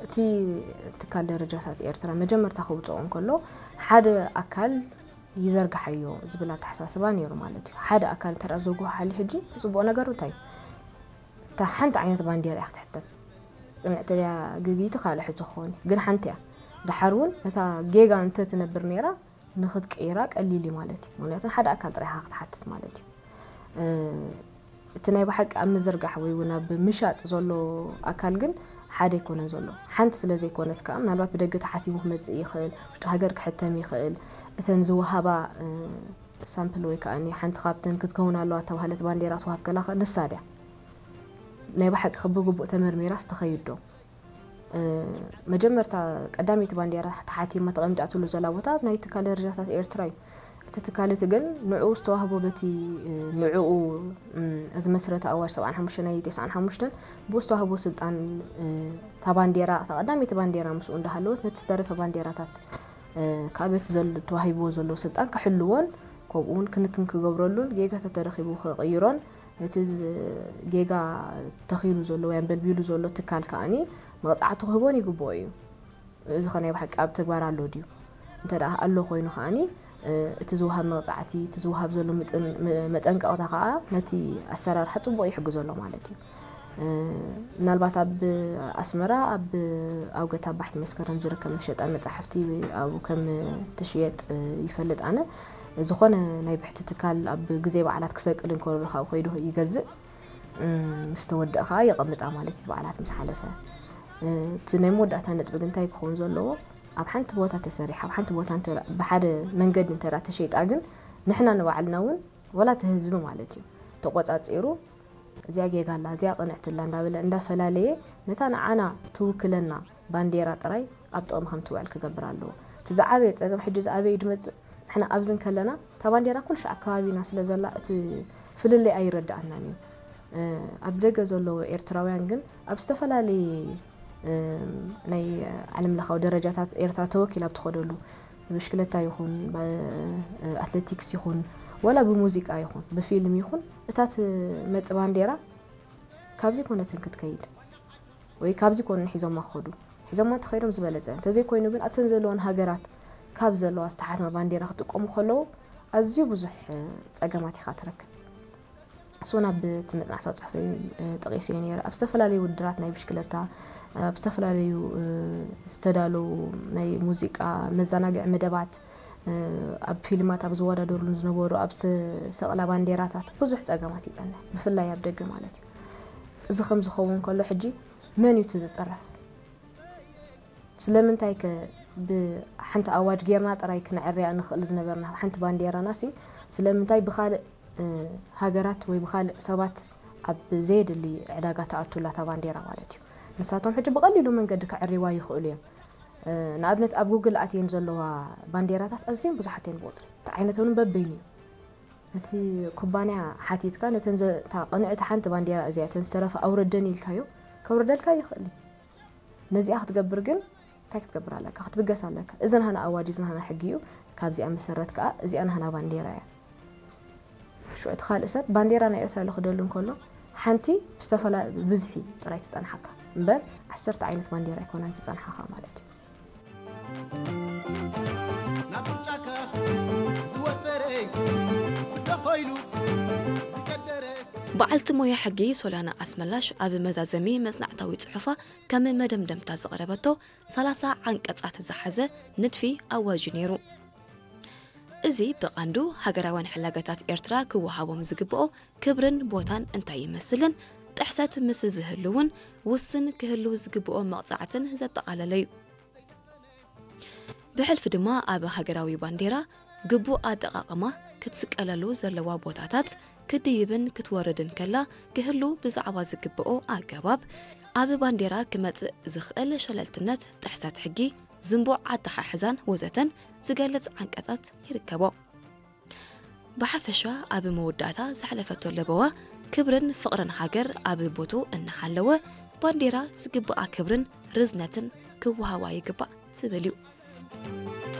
እቲ ትካል ደረጃታት ኤርትራ መጀመርታ ክውፅኦ እንከሎ ሓደ ኣካል ይዘርግሓዮ ዝብል ኣተሓሳስባ ነይሩ ማለት እዩ። ሓደ ኣካል እንተ ዝርግሖ ሓሊ ሕጂ እቲ ፅቡቕ ነገሩ እንታይ እዩ? እታ ሓንቲ ዓይነት ባንዴራ እያ ክትሕተም። ቅንዕቲ ድያ ግግይቲ ካልእ ሕቶ ክኸውን እዩ። ግን ሓንቲ እያ። ድሓር እውን ነታ ጌጋ እንተ ትነብር ነይራ ንክትቅይራ ቀሊል እዩ ማለት እዩ። ምክንያቱ ሓደ ኣካል ጥራይ ኢኻ ክትሓትት ማለት እዩ። እቲ ናይ ብሓቂ ኣብ ምዝርጋሕ ወይ እውን ኣብ ምሻጥ ዘሎ ኣካል ግን ሓደ ኣይኮነን ዘሎ። ሓንቲ ስለ ዘይኮነት ከዓ ምናልባት ብደገ ተሓቲሙ ክመፅእ ይኽእል፣ ውሽጢ ሃገር ክሕተም ይኽእል። እተን ዝወሃባ ሳምፕል ወይ ከዓ ሓንቲ ካብተን ክትከውን ኣለዋ ተባህለት ባንዴራ ትወሃብ ከላ ንሳ ድያ ናይ ብሓቂ ብግቡእ ተመርሚራ ዝተኸይድ ዶ? መጀመርታ ቀዳመይቲ ባንዴራ ተሓቲማ ተቐሚጣትሉ ዘላ ቦታ ኣብ ናይ ትካል ደረጃታት ኤርትራ እዩ። እቲ ትካል እቲ ግን ንዕኡ ዝተዋህቦ በቲ ንዕኡ ዝመስረተ ኣዋጅ ሰብዓን ሓሙሽተ ናይ ተስዓን ሓሙሽተን ብኡ ዝተዋህቦ ስልጣን እታ ባንዴራ እታ ቀዳመይቲ ባንዴራ ምስኡ እንዳሃለወት ነቲ ዝተረፈ ባንዴራታት ካብ እቲ ተዋሂብዎ ዘሎ ስልጣን ክሕልዎን ከምኡ እውን ክንክን ክገብረሉን ጌጋ ተተረኺቡ ክቕይሮን እቲ ጌጋ ተኺሉ ዘሎ ወይ ኣንበልቢሉ ዘሎ ትካል ከዓኒ መቕፃዕቲ ክህቦን ይግብኦ እዩ። እዚ ኸ ናይ ብሓቂ ኣብ ተግባር ኣሎ ድዩ? እንተ ደኣ ኣሎ ኮይኑ ከዓኒ እቲ ዝወሃብ መቕፃዕቲ እቲ ዝወሃብ ዘሎ መጠንቀቕታ ከዓ ነቲ ኣሰራርሓ ፅቡቕ ይሕግዞ ኣሎ ማለት እዩ። ምናልባት ኣብ ኣስመራ ኣብ ኣውገት ኣብ ባሕቲ መስከረም ዝርከብ መሸጣ መፃሕፍቲ ኣብኡ ከም ትሽየጥ ይፈልጥ ኣነ። ዝኾነ ናይ ብሕቲ ትካል ኣብ ግዜ በዓላት ክሰቅል እንከሎ ካብ ከይዱ ይገዝእ። ምስ ተወደእ ከዓ የቐምጣ ማለት እዩ። በዓላት ምስ ሓለፈ እቲ ናይ መወዳእታ ነጥቢ ግን እንታይ ክኸውን ዘለዎ? ኣብ ሓንቲ ቦታ ተሰሪሓ ኣብ ሓንቲ ቦታ ብሓደ መንገዲ እንተ ተሸይጣ ግን ንሕና ንባዕልና እውን ወላ እቲ ህዝቢ ማለት እዩ ተቆፃፂሩ እዚኣ ጌጋ ኣላ እዚኣ ቅንዕቲ ኣላ እንዳበለ እንዳፈላለየ ነታ ንዓና ትውክለና ባንዴራ ጥራይ ኣብ ጥቕሚ ከም ትውዕል ክገብር ኣለዎ። እቲ ዝዓበየ ፀገም ሕጂ ዝኣበዩ ድመፅእ ንሕና ኣብዚ እንከለና እታ ባንዴራ ኩሉ ሻዕ ኣብ ከባቢና ስለ ዘላ እቲ ፍልልይ ኣይረድኣናን እዩ። ኣብ ደገ ዘለዉ ኤርትራውያን ግን ኣብ ዝተፈላለየ ናይ ዓለም ለኻዊ ደረጃታት ኤርትራ ተወኪላ ኣብ ትኸደሉ ብሽክለታ ይኹን ኣትሌቲክስ ይኹን ወላ ብሙዚቃ ይኹን ብፊልም ይኹን እታ ትመጽእ ባንዴራ ካብዚ ኮነትን ክትከይድ ወይ ካብዚ ኮነ ሒዞማ ክኸዱ ሒዞማ እንተኸይዶም ዝበለጸ እንተዘይኮይኑ ግን ኣብተን ዘለወን ሃገራት ካብ ዘለዋ ዝተሓትመ ባንዴራ ክጥቀሙ ከለዉ ኣዝዩ ብዙሕ ጸገማት ኢኻ ትረክብ። እሱ ናብ እቲ መጽናዕታዊ ጽሑፈይ ጠቒሰዮ ነይረ። ኣብ ዝተፈላለዩ ውድድራት ናይ ብሽክለታ፣ ኣብ ዝተፈላለዩ ዝተዳለዉ ናይ ሙዚቃ መዘናግዒ መደባት፣ ኣብ ፊልማት ኣብ ዝወዳደሩሉ ዝነበሩ ኣብ ዝተሰቕላ ባንዴራታት ብዙሕ ጸገማት ይጸንሕ፣ ብፍላይ ኣብ ደገ ማለት እዩ። እዚ ከም ዝኸውን ከሎ ሕጂ መን እዩ እቲ ዝጽረፍ? ስለምንታይ ከ ብሓንቲ ኣዋጅ ጌርና ጥራይ ክነዕርያ ንኽእል ዝነበርና ሓንቲ ባንዴራና ሲ ስለምንታይ ብኻልእ ሃገራት ወይ ብኻልእ ሰባት ኣብ ዘየድሊ ዕዳጋ ተኣቱላ እታ ባንዴራ ማለት እዩ። ንሳቶም ሕጂ ብቐሊሉ መንገዲ ከዕርይዋ ይኽእሉ እዮም። ንኣብነት ኣብ ጉግል ኣትየን ዘለዋ ባንዴራታት ኣዝየን ብዙሓት እየን ብቑፅሪ እቲ ዓይነተን በበይኑ እዩ። ነቲ ኩባንያ ሓቲትካ ነተን እታ ቅንዕቲ ሓንቲ ባንዴራ እዚኣ እተን ዝተረፈ ኣውረደን ኢልካዮ ከውርደልካ ይኽእል እዩ። ነዚኣ ክትገብር ግን እንታይ ክትገብር ኣለካ? ክትብገስ ኣለካ። እዚ ናህና ኣዋጅ፣ እዚ ናህና ሕጊ እዩ። ካብዚኣ መሰረት ከዓ እዚኣ ናህና ባንዴራ እያ። ሽዑ እቲ ካልእ ሰብ ባንዴራ ናይ ኤርትራ ልኽደሉ እንከሎ ሓንቲ ብዝተፈላ ብብዝሒ ጥራይ ትጸንሓካ እምበር ዓሰርተ ዓይነት ባንዴራ ኣይኮናን ዝጸንሓኻ ማለት እዩ። ናብ ጫካ ዝወፈረ ብደኾ ኢሉ ዝገደረ በዓልቲ ሞያ ሕጊ ሶልያና ኣስመላሽ ኣብ መዛዘሚ መጽናዕታዊ ጽሑፋ ከም መደምደምታ ዘቕረበቶ ሰላሳ ዓንቀጻት ዝሓዘ ንድፊ ኣዋጅ እዩ ነይሩ። እዚ ብቐንዱ ሃገራውያን ሕላገታት ኤርትራ ክወሃቦም ዝግብኦ ክብርን ቦታን እንታይ ይመስልን ጥሕሰት ምስ ዝህሉ እውን ውስን ክህሉ ዝግብኦ መቕጻዕትን ዘጠቓለለ እዩ። ብሕልፊ ድማ ኣብ ሃገራዊ ባንዴራ ግቡእ ኣጠቓቕማ ክትስቀለሉ ዘለዋ ቦታታት ክትድይብን ክትወርድን ከላ ክህሉ ብዛዕባ ዝግብኦ ኣገባብ ኣብ ባንዴራ ክመጽእ ዝኽእል ሸለልትነት፣ ጥሕሰት ሕጊ፣ ዝንቡዕ ኣተሓሕዛን ወዘተን ዝገልጽ ዓንቀጻት ይርከቦ። ብሓፈሻ ኣብ መወዳእታ ዘሕለፈቶ ለበዋ ክብርን ፍቕርን ሃገር ኣብ ቦትኡ እናሃለወ ባንዴራ ዝግብኣ ክብርን ርዝነትን ክወሃባ ይግባእ ዝብል እዩ።